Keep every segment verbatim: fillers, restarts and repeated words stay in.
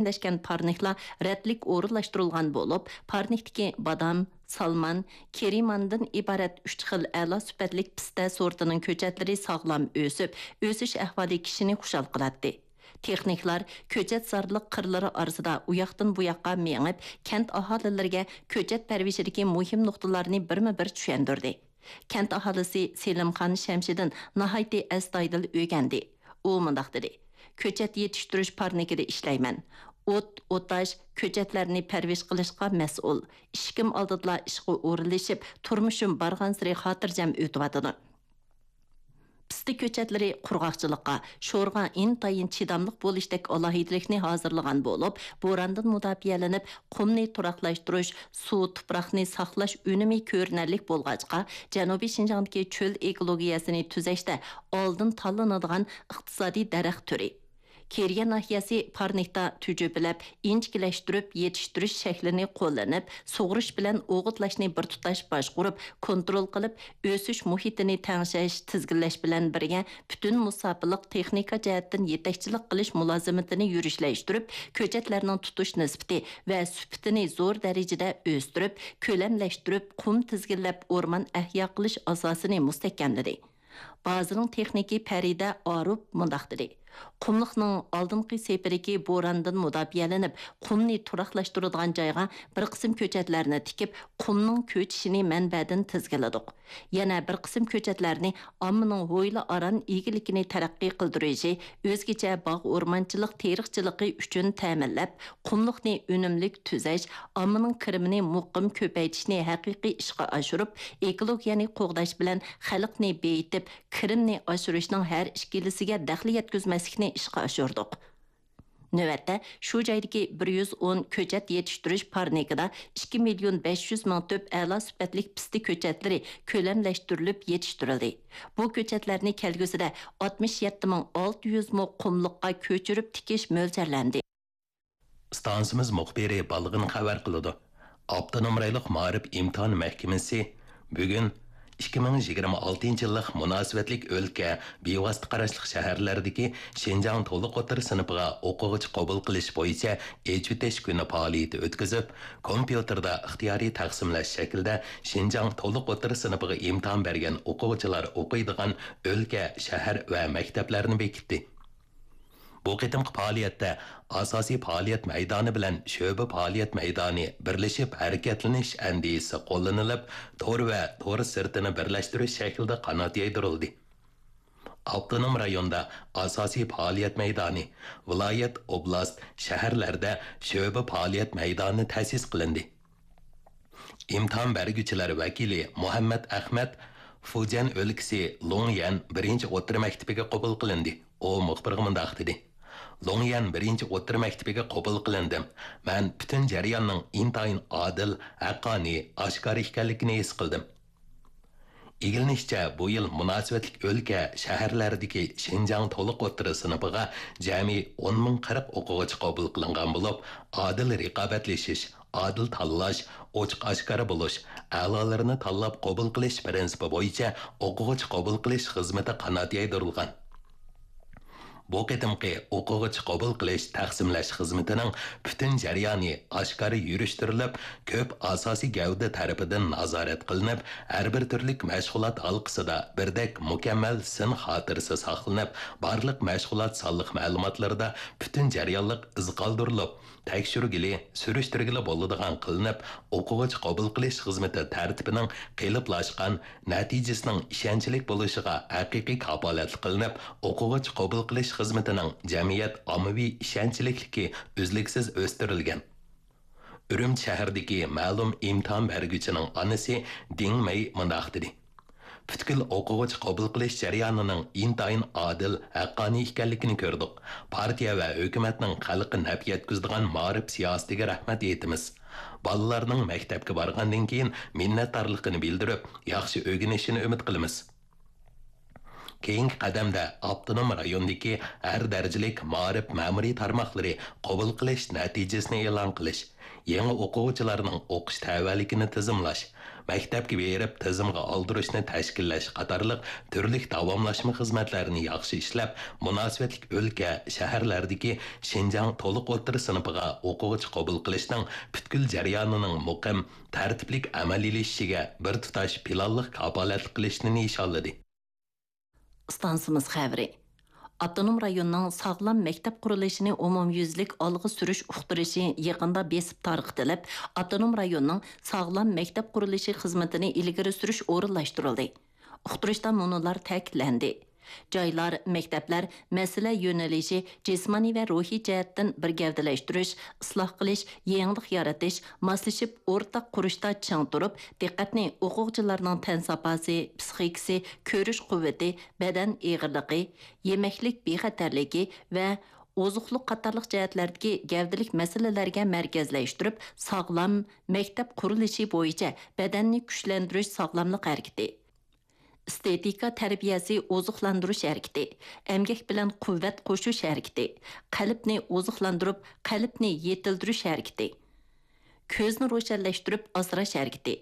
مۇكەممەللەشكەن پارنىكلار رەتلىك ئورۇنلاشتۇرۇلغان بولۇپ، پارنىكتىكى بادام، سالمان، كېرىماندىن ئىبارەت ئۈچ خىل ئەلا سۈپەتلىك پىستە سورتىنىڭ كۆچەتلىرى ساغلام ئۆسۈپ، ئۆسۈش ئەھۋالى كىشىنى خۇشال قىلاتتى. تېخنىكلار كۆچەتزارلىق قىرلىرى ئارىسىدا ئۇياقتىن بۇياققا مېڭىپ، كەنت ئاھالىلىرىگە كۆچەت پەرۋىشىدىكى مۇھىم نۇقتىلارنى بىرمۇ بىر چۈشەندۈردى. كەنت ئاھالىسى سېلىمخان شەمشىدىن ناھايىتى ئەستايىدىل ئۆگەندى. ئۇ مۇنداق دېدى: «كۆچەت يېتىشتۈرۈش پارنىكىدا ئىشلەيمەن. ئوت، ئوتاش، كۆچەتلەرنى پەرۋىش قىلىشقا مەسئۇل. ئىشىكىم ئالدىدىلا ئىشقا ئورۇنلىشىپ، تۇرمۇشۇم بارغانسېرى خاتىرجەم ئۆتۈۋاتىدۇ.» پىستە كۆچەتلىرى قۇرغاقچىلىققا، شورغا ئىنتايىن چىداملىق بولۇشتەك ئالاھىدىلىكنى ھازىرلىغان بولۇپ، بورانىدىن مۇداپىئەلىنىپ، قۇمنى تۇراقلاشتۇرۇش، سۇ، تۇپراقنى ساقلاش ئۈنۈمى كۆرۈنەرلىك بولغاچقا، جەنۇبىي شىنجاڭدىكى چۆل ئېكولوگىيەسىنى تۈزەشتە ئالدىن تاللىنىدىغان ئىقتىسادىي دەرەخ تۈرى. كېرىيە ناھىيەسى پارنىكتا تۈجۈپىلەپ، ئىنچىكىلەشتۈرۈپ يېتىشتۈرۈش شەكلىنى قوللىنىپ، سۇغىرىش بىلەن ئوغۇتلاشنى بىر تۇتاش باشقۇرۇپ، كونترول قىلىپ، ئۆسۈش مۇھىتىنى تەڭشەش، تىزگىنلەش بىلەن بىرگە، پۈتۈن مۇساپىلىق تېخنىكا جەھەتتىن يېتەكچىلىك قىلىش مۇلازىمىتىنى يۈرۈشلەشتۈرۈپ، كۆچەتلەرنىڭ تۇتۇش نىسبىتى ۋە سۈپىتىنى زور دەرىجىدە ئۆستۈرۈپ، كۆلەملەشتۈرۈپ، قۇم تىزگىنلەپ ئورمان ئەھيا قىلىش ئاساسىنى مۇستەھكەملىدى. بازىنىڭ تېخنىكى پەرىدە ئاروپ مۇنداق دېدى: «قۇملۇقنىڭ ئالدىنقى سېپىدىكى بورانىدىن مۇداپىئەلىنىپ، قۇمنى تۇراقلاشتۇرىدىغان جايغا بىر قىسىم كۆچەتلەرنى تىكىپ، قۇمنىڭ كۆچۈشىنى مەنبەدىن تىزگىنلىدۇق. يەنە بىر قىسىم كۆچەتلەرنى ئاممىنىڭ ھويلا ئاران ئىگىلىكىنى تەرەققىي قىلدۇرۇشى، ئۆزگىچە باغ ئورمانچىلىق تېرىقچىلىقى ئۈچۈن تەمىنلەپ، قۇملۇقنى ئۈنۈملۈك تۈزەش، ئاممىنىڭ كىرىمىنى مۇقىم كۆپەيتىشنى ھەقىقىي ئىشقا ئاشۇرۇپ، ئېكولوگىيەنى قوغداش بىلەن خەلقنى بېيىتىپ، كىرىمنى ئاشۇرۇشنىڭ ھەر ئىككىلىسىگە دەخلى يەتكۈزمەسلىكنى ئىشقا ئاشۇردۇق.» نۆۋەتتە، شۇ جايدىكى بىر يۈز ئون كۆچەت يېتىشتۈرۈش پارنىكىدا ئىككى مىليون بەش يۈز مىڭ تۈپ ئەلا سۈپەتلىك پىستە كۆچەتلىرى كۆلەملەشتۈرۈلۈپ يېتىشتۈرۈلدى. بۇ كۆچەتلەرنى كەلگۈسىدە ئاتمىش يەتتە مىڭ ئالتە يۈز مو قۇملۇققا كۆچۈرۈپ تىكىش مۆلچەرلەندى. ئىستانسىمىز مۇخبىرى بالغىن خەۋەر قىلىدۇ. ئاپتونوم رايونلۇق مائارىپ ئىمتىھان مەھكىمىسى بۈگۈن ئىككى مىڭ يىگىرمە ئالتىنچى يىللىق مۇناسىۋەتلىك ئۆلكە، بىۋاسىتە قاراشلىق شەھەرلەردىكى شىنجاڭ تولۇق ئوتتۇرا سىنىپىغا ئوقۇغۇچى قوبۇل قىلىش بويىچە ئېچىۋېتىش كۈنى پائالىيىتى ئۆتكۈزۈپ، كومپيۇتېردا ئىختىيارىي تەقسىملەش شەكلىدە شىنجاڭ تولۇق ئوتتۇرا سىنىپىغا ئىمتىھان بەرگەن ئوقۇغۇچىلار ئوقۇيدىغان ئۆلكە، شەھەر ۋە مەكتەپلەرنى بېكىتتى. بۇ قېتىمقى پائالىيەتتە ئاساسىي پائالىيەت مەيدانى بىلەن شۆبە پائالىيەت مەيدانى بىرلىشىپ ھەرىكەتلىنىش ئەندىزىسى قوللىنىلىپ، تور ۋە تور سىرتىنى بىرلەشتۈرۈش شەكلىدە قانات يايدۇرۇلدى. ئاپتونوم رايوندا ئاساسىي پائالىيەت مەيدانى، ۋىلايەت، ئوبلاست، شەھەرلەردە شۆبە پائالىيەت مەيدانى تەسىس قىلىندى. ئىمتىھان بەرگۈچىلەر ۋەكىلى مۇھەممەت ئەخمەت فۇجيەن ئۆلكىسى لۇڭيەن بىرىنچى ئوتتۇرا مەكتىپىگە قوبۇل قىلىندى. ئۇ مۇخبىرغا مۇنداق دېدى: «لۇڭيەن بىرىنچى ئوتتۇرا مەكتىپىگە قوبۇل قىلىندىم. مەن پۈتۈن جەرياننىڭ ئىنتايىن ئادىل، ھەققانىي، ئاشكارا ئىكەنلىكىنى ھېس قىلدىم.» ئىگىلىنىشىچە، بۇ يىل مۇناسىۋەتلىك ئۆلكە، شەھەرلەردىكى شىنجاڭ تولۇق ئوتتۇرا سىنىپىغا جەمئىي ئون مىڭ قىرىق ئوقۇغۇچى قوبۇل قىلىنغان بولۇپ، ئادىل رىقابەتلىشىش، ئادىل تاللاش، ئوچۇق ئاشكارا بولۇش، ئەلالىرىنى تاللاپ قوبۇل قىلىش پىرىنسىپى بويىچە ئوقۇغۇچى قوبۇل قىلىش خىزمىتى قانات يايدۇرۇلغان. بۇ قېتىمقى ئوقۇغۇچى قوبۇل قىلىش، تەقسىملەش خىزمىتىنىڭ پۈتۈن جەريانى ئاشكارا يۈرۈشتۈرۈلۈپ، كۆپ ئاساسىي گەۋدە تەرىپىدىن نازارەت قىلىنىپ، ھەر بىر تۈرلۈك مەشغۇلات ھالقىسىدا بىردەك مۇكەممەل سىن خاتىرىسى ساقلىنىپ، بارلىق مەشغۇلات سانلىق مەلۇماتلىرىدا پۈتۈن جەريانلىق ئىز قالدۇرۇلۇپ، تەكشۈرگىلى، سۈرۈشتۈرگىلى بولىدىغان قىلىنىپ، ئوقۇغۇچى قوبۇل قىلىش خىزمىتى تەرتىپىنىڭ قېلىپلاشقان، نەتىجىسىنىڭ ئىشەنچلىك بولۇشىغا ھەقىقىي كاپالەتلىك قىلىنىپ، ئوقۇغۇچى قوبۇل قىلىش خىزمىتىنىڭ جەمئىيەت ئاممىۋى ئىشەنچلىكلىكى ئۈزلۈكسىز ئۆستۈرۈلگەن. ئۈرۈمچى شەھىرىدىكى مەلۇم ئىمتىھان بەرگۈچىنىڭ ئانىسى دىڭ مېي مۇنداق دېدى: «پۈتكۈل ئوقۇغۇچى قوبۇل قىلىش جەريانىنىڭ ئىنتايىن ئادىل، ھەققانىي ئىكەنلىكىنى كۆردۇق. پارتىيە ۋە ھۆكۈمەتنىڭ خەلققە نەپ يەتكۈزىدىغان مائارىپ سىياسىتىگە رەھمەت ئېيتىمىز. بالىلارنىڭ مەكتەپكە بارغاندىن كېيىن مىننەتدارلىقىنى بىلدۈرۈپ، ياخشى ئۆگىنىشىنى ئۈمىد قىلىمىز.» كېيىنكى قەدەمدە ئاپتونوم رايوندىكى ھەر دەرىجىلىك مائارىپ مەمۇرىي تارماقلىرى قوبۇل قىلىش نەتىجىسىنى ئېلان قىلىش، يېڭى ئوقۇغۇچىلارنىڭ ئوقۇش تەۋەلىكىنى تىزىملاش، مەكتەپكە بېرىپ تىزىمغا ئالدۇرۇشنى تەشكىللەش قاتارلىق تۈرلۈك داۋاملاشما خىزمەتلەرنى ياخشى ئىشلەپ، مۇناسىۋەتلىك ئۆلكە، شەھەرلەردىكى شىنجاڭ تولۇق ئوتتۇرا سىنىپىغا ئوقۇغۇچى قوبۇل قىلىشنىڭ پۈتكۈل جەريانىنىڭ مۇقىم، تەرتىپلىك ئەمەلىيلىشىشىگە بىر تۇتاش پىلانلىق كاپالەتلىك قىلىشنى نىشانلىدى. ئىستانسىمىز خەۋىرى. ئاپتونوم رايوننىڭ ساغلام مەكتەپ قۇرۇلۇشىنى ئومۇميۈزلۈك ئالغا سۈرۈش ئۇقتۇرۇشى يېقىندا بېسىپ تارقىتىلىپ، ئاپتونوم رايوننىڭ ساغلام مەكتەپ قۇرۇلۇشى خىزمىتىنى ئىلگىرى سۈرۈش ئورۇنلاشتۇرۇلدى. ئۇقتۇرۇشتا مۇنۇلار تەكىتلەندى: جايلار، مەكتەپلەر مەسىلە يۆنىلىشى، جىسمانىي ۋە روھىي جەھەتتىن بىر گەۋدىلەشتۈرۈش، ئىسلاھ قىلىش، يېڭىلىق يارىتىش، ماسلىشىپ ئورتاق قۇرۇشتا چىڭ تۇرۇپ، دىققەتنى ئوقۇغۇچىلارنىڭ تەن ساپاسى، پىسخىكىسى، كۆرۈش قۇۋۋىتى، بەدەن ئېغىرلىقى، يېمەكلىك بىخەتەرلىكى ۋە ئوزۇقلۇق قاتارلىق جەھەتلەردىكى گەۋدىلىك مەسىلىلەرگە مەركەزلەشتۈرۈپ، ساغلام مەكتەپ قۇرۇلۇشى بويىچە بەدەننى كۈچلەندۈرۈش ساغلاملىق ھەرىكىتى، ئېستېتىكا تەربىيەسى ئوزۇقلاندۇرۇش ھەرىكىتى، ئەمگەك بىلەن قۇۋۋەت قوشۇش ھەرىكىتى، قەلبنى ئوزۇقلاندۇرۇپ، قەلبنى يېتىلدۈرۈش ھەرىكىتى، كۆزنى روشەنلەشتۈرۈپ ئاسراش ھەرىكىتى،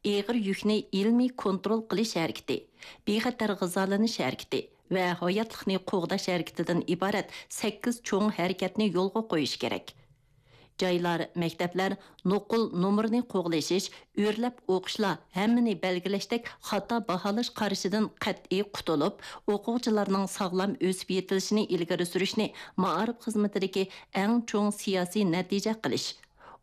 ئېغىر يۈكنى ئىلمىي كونترول قىلىش ھەرىكىتى، بىخەتەر غىزالىنىش ھەرىكىتى ۋە ھاياتلىقنى قوغداش ھەرىكىتىدىن ئىبارەت سەككىز چوڭ ھەرىكەتنى يولغا قويۇش كېرەك. جايلار، مەكتەپلەر نوقۇل نومۇرنى قوغلىشىش، ئۆرلەپ ئوقۇشلار ھەممىنى بەلگىلەشتەك خاتا باھالاش قارىشىدىن قەتئىي قۇتۇلۇپ، ئوقۇغۇچىلارنىڭ ساغلام ئۆسۈپ يېتىلىشىنى ئىلگىرى سۈرۈشنى مائارىپ خىزمىتىدىكى ئەڭ چوڭ سىياسىي نەتىجە قىلىش،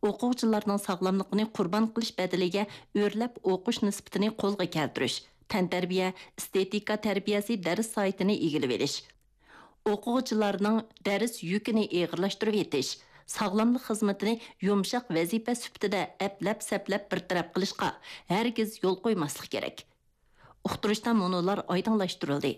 ئوقۇغۇچىلارنىڭ ساغلاملىقىنى قۇربان قىلىش بەدىلىگە ئۆرلەپ ئوقۇش نىسبىتىنى قولغا كەلتۈرۈش، تەنتەربىيە، ئېستېتىكا تەربىيەسى دەرس ساھىتىنى ئىگىلىۋېلىش، ئوقۇغۇچىلارنىڭ دەرس يۈكىنى ئېغىرلاشتۇرۇۋېتىش، ساغلاملىق خىزمىتىنى يۇمشاق ۋەزىپە سۈپىتىدە ئەپلەپ-سەپلەپ بىر تەرەپ قىلىشقا ھەرگىز يول قويماسلىق كېرەك. ئۇقتۇرۇشتا مۇنۇلار ئايدىڭلاشتۇرۇلدى: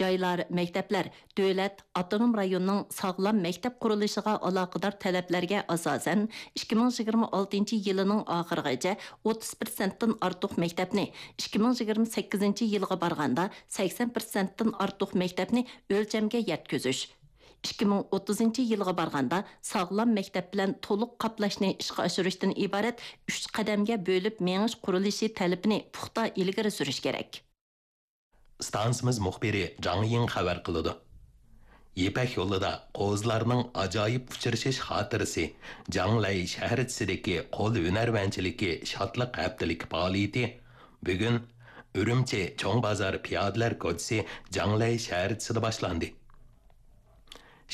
جايلار، مەكتەپلەر دۆلەت، ئاپتونوم رايوننىڭ ساغلام مەكتەپ قۇرۇلۇشىغا ئالاقىدار تەلەپلەرگە ئاساسەن، ئىككى مىڭ يىگىرمە ئالتىنچى يىلىنىڭ ئاخىرىغىچە ئوتتۇز پىرسەنتتىن ئارتۇق مەكتەپنى، ئىككى مىڭ يىگىرمە سەككىزىنچى يىلغا بارغاندا سەكسەن پىرسەنتتىن ئارتۇق مەكتەپنى ئۆلچەمگە يەتكۈزۈش، ئىككى مىڭ ئوتتۇزىنچى يىلغا بارغاندا ساغلام مەكتەپ بىلەن تولۇق قاپلاشنى ئىشقا ئاشۇرۇشتىن ئىبارەت ئۈچ قەدەمگە بۆلۈپ مېڭىش قۇرۇلۇشى تەلىپىنى پۇختا ئىلگىرى سۈرۈش كېرەك. ئىستانسىمىز مۇخبىرى جاڭ يىڭ خەۋەر قىلىدۇ. يىپەك يولىدا قوزىلارنىڭ ئاجايىپ ئۇچرىشىش خاتىرىسى، جاڭلەي شەھەرچىسىدىكى قول ھۈنەرۋەنچىلىكى شادلىق ھەپتىلىكى پائالىيىتى بۈگۈن ئۈرۈمچى چوڭ بازار پىيادىلەر كوچىسى جاڭلەي شەھەرچىسىدە باشلاندى.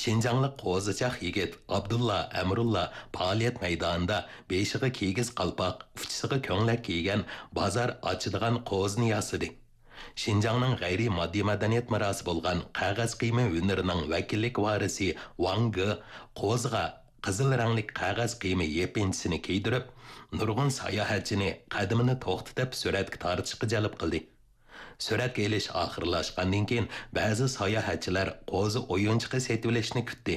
شىنجاڭلىق قوزىچاق يىگىت ئابدۇللا ئەمرۇللا پائالىيەت مەيدانىدا بېشىغا كىگىز قالپاق، ئۇچىسىغا كۆڭلەك كىيگەن بازار ئاچىدىغان قوزىنى ياسىدى. شىنجاڭنىڭ غەيرىي ماددىي مەدەنىيەت مىراسى بولغان قەغەز قىيما ھۈنىرىنىڭ ۋەكىللىك ۋارىسى ۋاڭ گې قوزىغا قىزىل رەڭلىك قەغەز قىيما يېپىنچىسىنى كىيدۈرۈپ، نۇرغۇن ساياھەتچىنى قەدىمىنى توختىتىپ سۈرەتكە تارتىشقا جەلپ قىلدى. سۈرەتكە ئېلىش ئاخىرلاشقاندىن كېيىن، بەزى ساياھەتچىلەر قوزا ئويۇنچۇقى سېتىۋېلىشنى كۈتتى.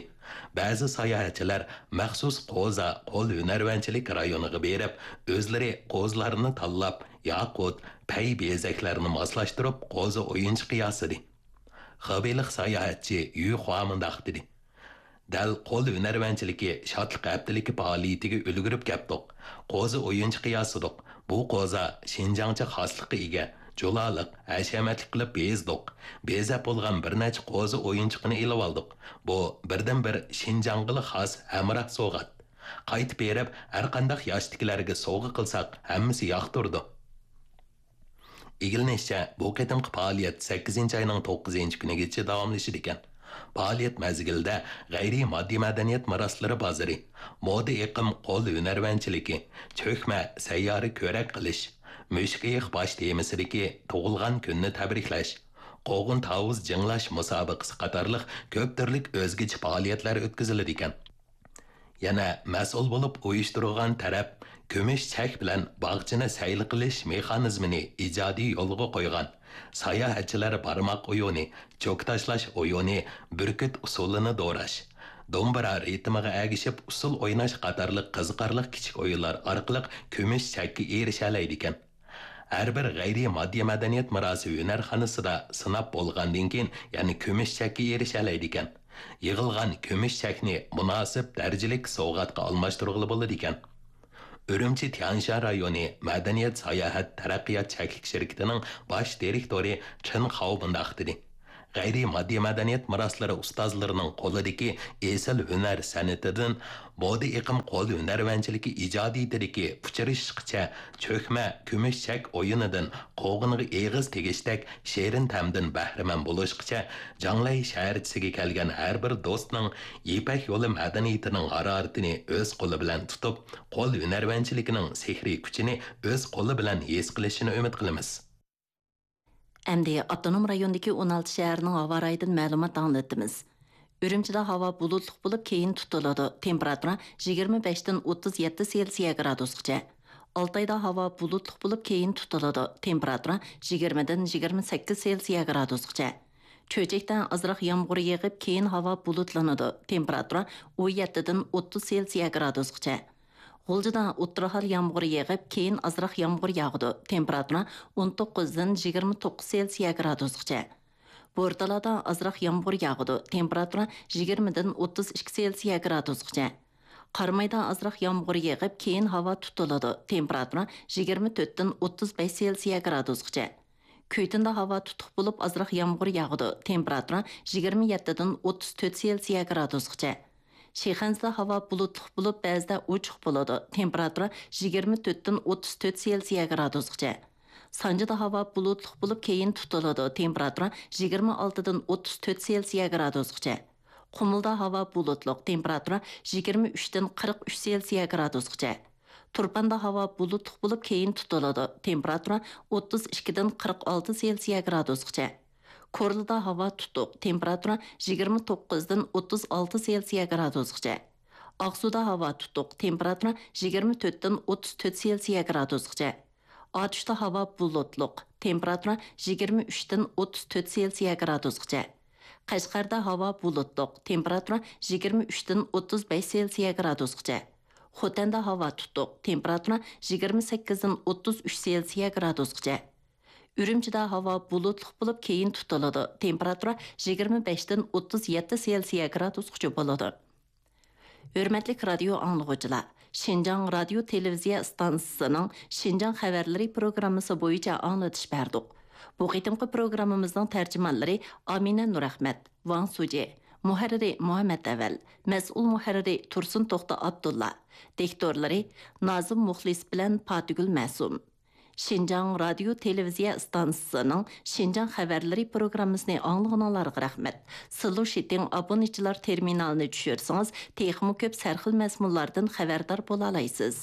بەزى ساياھەتچىلەر مەخسۇس قوزا قول ھۈنەرۋەنچىلىك رايونىغا بېرىپ، ئۆزلىرى قوزىلارنى تاللاپ، ياقۇت، پەي بېزەكلەرنى ماسلاشتۇرۇپ، قوزا ئويۇنچۇقى ياسىدى. خېبېيلىق ساياھەتچى يۈ خۇا مۇنداق دېدى: دەل قول ھۈنەرۋەنچىلىكى شادلىق ھەپتىلىكى پائالىيىتىگە ئۈلگۈرۈپ كەپتۇق. قوزا ئويۇنچۇقى ياسىدۇق. بۇ قوزا شىنجاڭچە خاسلىققا ئىگە، جۇلالىق، ھەشەمەتلىك قىلىپ بېزىدۇق. بېزەپ بولغان بىر نەچچە قوزا ئويۇنچۇقىنى ئېلىۋالدۇق. بۇ بىردىنبىر شىنجاڭغىلا خاس ھەمراھ سوۋغات. قايتىپ بېرىپ، ھەرقانداق ياشتىكىلەرگە سوۋغا قىلساق، ھەممىسى ياقتۇرىدۇ. ئىگىلىنىشىچە، بۇ قېتىمقى پائالىيەت سەككىزىنچى ئاينىڭ توققۇزىنچى كۈنىگىچە داۋاملىشىدىكەن. پائالىيەت مەزگىلىدە غەيرىي ماددىي مەدەنىيەت مىراسلىرى بازىرى، مودا ئېقىم قول ھۈنەرۋەنچىلىكى، چۆكمە سەييارە كۆرەك قىلىش، مۈشۈك ئېيىق باش تېمىسىدىكى تۇغۇلغان كۈننى تەبرىكلەش، قوغۇن تاۋۇز جىڭلاش مۇسابىقىسى قاتارلىق كۆپ تۈرلۈك ئۆزگىچە پائالىيەتلەر ئۆتكۈزۈلىدىكەن. يەنە مەسئۇل بولۇپ ئۇيۇشتۇرغان تەرەپ كۈمۈش چەك بىلەن باغچىنى سەيلە قىلىش مېخانىزمىنى ئىجادىي يولغا قويغان. ساياھەتچىلەر بارماق ئويۇنى، چوكا تاشلاش ئويۇنى، بۈركۈت ئۇسسۇلىنى دوراش، دومبىرا رىتىمىغا ئەگىشىپ ئۇسسۇل ئويناش قاتارلىق قىزىقارلىق كىچىك ئويۇنلار ئارقىلىق كۈمۈش چەككە ئېرىشەلەيدىكەن. ھەر بىر غەيرىي ماددىي مەدەنىيەت مىراسى ھۈنەرخانىسىدا سىناپ بولغاندىن كېيىن، يەنە كۈمۈش چەككە ئېرىشەلەيدىكەن. يىغىلغان كۈمۈش چەكنى مۇناسىپ دەرىجىلىك سوۋغاتقا ئالماشتۇرغىلى بولىدىكەن. ئۈرۈمچى تيەنشان رايونى مەدەنىيەت ساياھەت تەرەققىيات چەكلىك شىركىتىنىڭ باش دىرېكتورى چېن خاۋ مۇنداق دېدى: غەيرىي ماددىي مەدەنىيەت مىراسلىرى ئۇستازلىرىنىڭ قولىدىكى ئېسىل ھۈنەر سەنئىتىدىن، بودى ئېقىم قول ھۈنەرۋەنچىلىكى ئىجادىيىتىدىكى ئۇچرىشىشقىچە چۆكمە، كۈمۈش چەك ئويۇنىدىن قوغۇنغا ئېغىز تېگىشتەك شېرىن تەمدىن بەھرىمەن بولۇشقىچە، جاڭلەي شەھەرچىسىگە كەلگەن ھەر بىر دوستنىڭ يىپەك يولى مەدەنىيىتىنىڭ ھارارىتىنى ئۆز قولى بىلەن تۇتۇپ، قول ھۈنەرۋەنچىلىكىنىڭ سېھرىي كۈچىنى ئۆز قولى بىلەن ھېس قىلىشىنى ئۈمىد قىلىمىز. ئەمدى ئاپتونوم رايوندىكى ئون ئالتە شەھەرنىڭ ھاۋا رايىدىن مەلۇمات ئاڭلىتىمىز. ئۈرۈمچىدە ھاۋا بۇلۇتلۇق بولۇپ، كېيىن تۇتۇلىدۇ. تېمپېراتۇرا يىگىرمە بەشتىن ئوتتۇز يەتتە سېلسىيە گرادۇسقىچە. ئالتايدا ھاۋا بۇلۇتلۇق بولۇپ، كېيىن تۇتۇلىدۇ. تېمپېراتۇرا يىگىرمىدىن يىگىرمە سەككىز سېلسىيە گرادۇسقىچە. چۆچەكتە ئازراق يامغۇر يېغىپ، كېيىن ھاۋا بۇلۇتلىنىدۇ. تېمپېراتۇرا ئون يەتتىدىن ئوتتۇز سېلسىيە گرادۇسقىچە. غۇلجىدا ئوتتۇرا ھال يامغۇر يېغىپ، كېيىن ئازراق يامغۇر ياغىدۇ. تېمپېراتۇرا ئون توققۇزدىن يىگىرمە توققۇز سېلسىيە گرادۇسقىچە. بورتالادا ئازراق يامغۇر ياغىدۇ. تېمپېراتۇرا يىگىرمىدىن ئوتتۇز ئىككى سېلسىيە گرادۇسقىچە. قارامايدا ئازراق يامغۇر يېغىپ، كېيىن ھاۋا تۇتۇلىدۇ. تېمپېراتۇرا يىگىرمە تۆتتىن ئوتتۇز بەش سېلسىيە گرادۇسقىچە. كۈيتۇندا ھاۋا تۇتۇق بولۇپ، ئازراق يامغۇر ياغىدۇ. تېمپېراتۇرا يىگىرمە يەتتىدىن ئوتتۇز تۆت سېلسىيە گرادۇسقىچە. شىخەنزىدە ھاۋا بۇلۇتلۇق بولۇپ، بەزىدە ئوچۇق بولىدۇ. تېمپېراتۇرا يىگىرمە تۆتتىن ئوتتۇز تۆت سېلسىيە گرادۇسقىچە. سانجىدا ھاۋا بۇلۇتلۇق بولۇپ، كېيىن تۇتۇلىدۇ. تېمپېراتۇرا يىگىرمە ئالتىدىن ئوتتۇز تۆت سېلسىيە گرادۇسقىچە. قۇمۇلدا ھاۋا بۇلۇتلۇق، تېمپېراتۇرا يىگىرمە ئۈچتىن قىرىق ئۈچ سېلسىيە گرادۇسقىچە. تۇرپاندا ھاۋا بۇلۇتلۇق بولۇپ، كېيىن تۇتۇلىدۇ. تېمپېراتۇرا ئوتتۇز ئىككىدىن قىرىق ئالتە سېلسىيە گرادۇسقىچە. كورلىدا ھاۋا تۇتۇق، تېمپېراتۇرا يىگىرمە توققۇزدىن ئوتتۇز ئالتە سېلسىيە گرادۇسقىچە. ئاقسۇدا ھاۋا تۇتۇق، تېمپېراتۇرا يىگىرمە تۆتتىن ئوتتۇز تۆت سېلسىيە گرادۇسقىچە. ئاتۇشتا ھاۋا بۇلۇتلۇق، تېمپېراتۇرا يىگىرمە ئۈچتىن ئوتتۇز تۆت سېلسىيە گرادۇسقىچە. قەشقەردە ھاۋا بۇلۇتلۇق، تېمپېراتۇرا يىگىرمە ئۈچتىن ئوتتۇز بەش سېلسىيە گرادۇسقىچە. خوتەندە ھاۋا تۇتۇق، تېمپېراتۇرا يىگىرمە سەككىزدىن ئوتتۇز ئۈچ سېلسىيە گرادۇسقىچە. ئۈرۈمچىدە ھاۋا بۇلۇتلۇق بولۇپ، كېيىن تۇتۇلىدۇ، تېمپېراتۇرا يىگىرمە بەشتىن ئوتتۇز يەتتە سېلسىيە گرادۇسقىچە بولىدۇ. ھۆرمەتلىك رادىيو ئاڭلىغۇچىلار، شىنجاڭ رادىيو تېلېۋىزىيە ئىستانسىسىنىڭ شىنجاڭ خەۋەرلىرى پروگراممىسى بويىچە ئاڭلىتىش بەردۇق. بۇ قېتىمقى پروگراممىمىزنىڭ تەرجىمانلىرى ئامىنە نۇرئەخمەت، ۋاڭ سۇجى، مۇھەررىرى مۇھەممەت ئەۋەل، مەسئۇل مۇھەررىرى تۇرسۇن توختى ئابدۇللا، دىكتورلىرى نازىم مۇخلىس بىلەن پاتىگۈل مەسۇم. شىنجاڭ رادىيو تېلېۋىزىيە ئىستانسىسىنىڭ شىنجاڭ خەۋەرلىرى پروگراممىسىنى ئاڭلىغىنىڭلارغا رەھمەت. سىلۇشىتىڭ ئابونېنتچىلار تېرمىنالىنى چۈشۈرسىڭىز، تېخىمۇ كۆپ سەرخىل مەزمۇنلاردىن خەۋەردار بولالايسىز.